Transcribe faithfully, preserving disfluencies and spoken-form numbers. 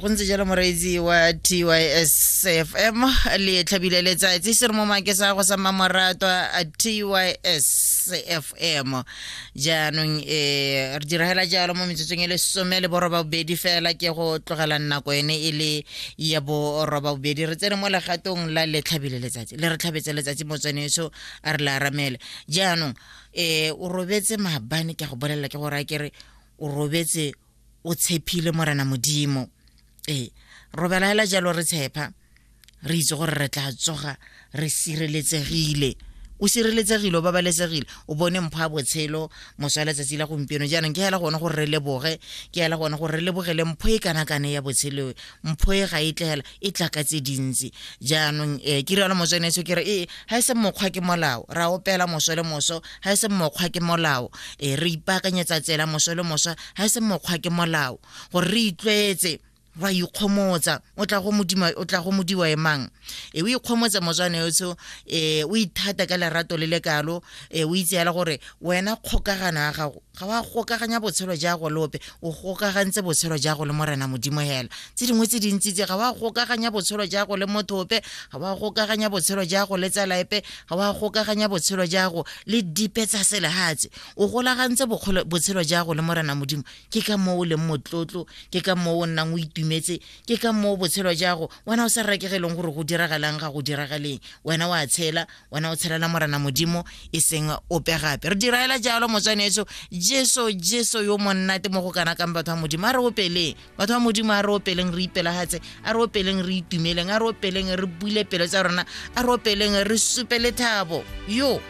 Go ntse jalo moreetsi wa T Y S F M le tlhabile letsatsi se re mo makesa go sa mamoratwa a T Y S F M. Jaanong eh re diragela jalo mo metsotsong e le some le borobabobedi fela ke go tlogela nako ene e le ya borobabobedi re tsene mo legatong la le tlhabile letsatsi le re tlhabetse letsatsi motswaneso a re la aramele. Jaanong eh o robetse maabane ke go bolelela ke gore a kere o robetse o tshepile Morena Modimo. Ee, robela hela jalo re tshepa re itse gore re tla tsoga re sireletsegile. O sireletsegile, o babalesegile, o bone mpho ya botshelo moso wa letsatsi la gompieno. Jaanong ke hela gone gore re leboge, ke hela gone gore re lebogele mpho e kana-kana ya botshelo. Mpho e ga e tle hela, e tla ka tse dintsi. Jaanong eh ke rialo motswaneso ke re ee ha e se mokgwa ke molao, ra opela moso le moso, ha e se mokgwa ke molao. Eh re ipaakanyetsa tsela moso le moso, ha e se mokgwa ke molao, gore re itlwaetse wa ikgomotsa. O tla go modimo, o tla go modiwa emang. E o ikgomotsa motswaneso, eh o ithata ka lerato le lekalo, e o itse hela gore wena kgokagano ya gago ga wa gokaganya botshelo ja go lope, o gokagantse botshelo ja go le Morena Modimo hela. Tse dingwe tse dintsi tse ga wa gokaganya botshelo ja go le motho ope, ga wa gokaganya botshelo ja go le tsala epe, ga wa gokaganya botshelo ja go le dipe tsa selehatshe. O golagantse botshelo ja go le Morena Modimo. Ke ka moo o leng motlotlo, ke ka moo o nnang o itumetse, ke ka moo botshelo ja go wena o sa rekegeleng gore go diragalang ga go diragaleng. Wena wa tshela, wena o tshelela Morena Modimo e seng ope gape. Re diraela jalo motswaneso Jesu, Jesu yo monnate mo go kana kang batho ba Modimo. A re opeleng batho ba Modimo, a re opeleng re ipelahatse, a re opeleng re itumeleng, a re opeleng re bule pelo tsa rona, a re opeleng re supe lethabo. Yo.